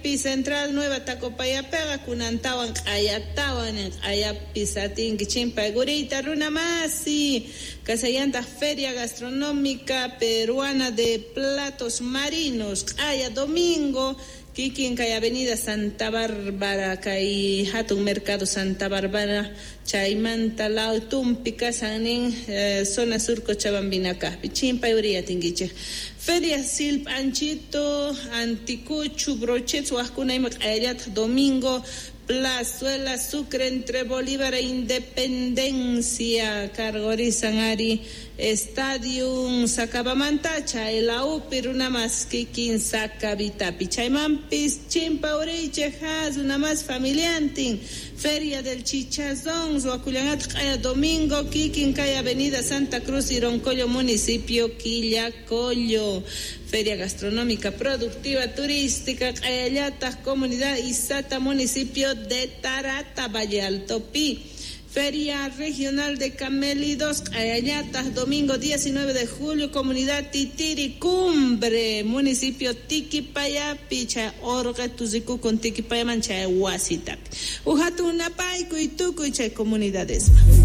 Central Nueva Tacopayapega kunantawan q'ayatawan q'ayapis atinki chimpaykuriyta runa masi kasallantaq Feria Gastronómica Peruana de Platos Marinos q'aya domingo kikin kay Avenida Santa Bárbara kay hatun Mercado Santa Bárbara chaymanta lawtumpi kasan nin zona sur Cochabambina kaqpi chimpay uriy atinkichik. Feria Silp Anchito Anticuchu Brochets waqkuna ima q'ayallataq domingo Plazuela Sucre entre Bolívar e Independencia cargorisan ari Stadium Sacabamanta chay laupi runamas kikin Sacabitapi chaymanpis chimpa uriychik ha runamas familiantin Feria del Chichazón ruwakullanataq q'aya domingo kikin kay Avenida Santa Cruz Ironcollo municipio Quillacollo Feria Gastronómica Productiva Turística q'ayallataq Comunidad Isata municipio de Tarata Valle Alto Pi Feria Regional de Camélidos, q'ayallataq domingo 19 de julio, Comunidad Titiri Cumbre, municipio Tiquipayapi, chay orqetu rikukun Tiquipayaman chay wasitapi. Uj hatun napaykuy tukuy chay comunidadesman.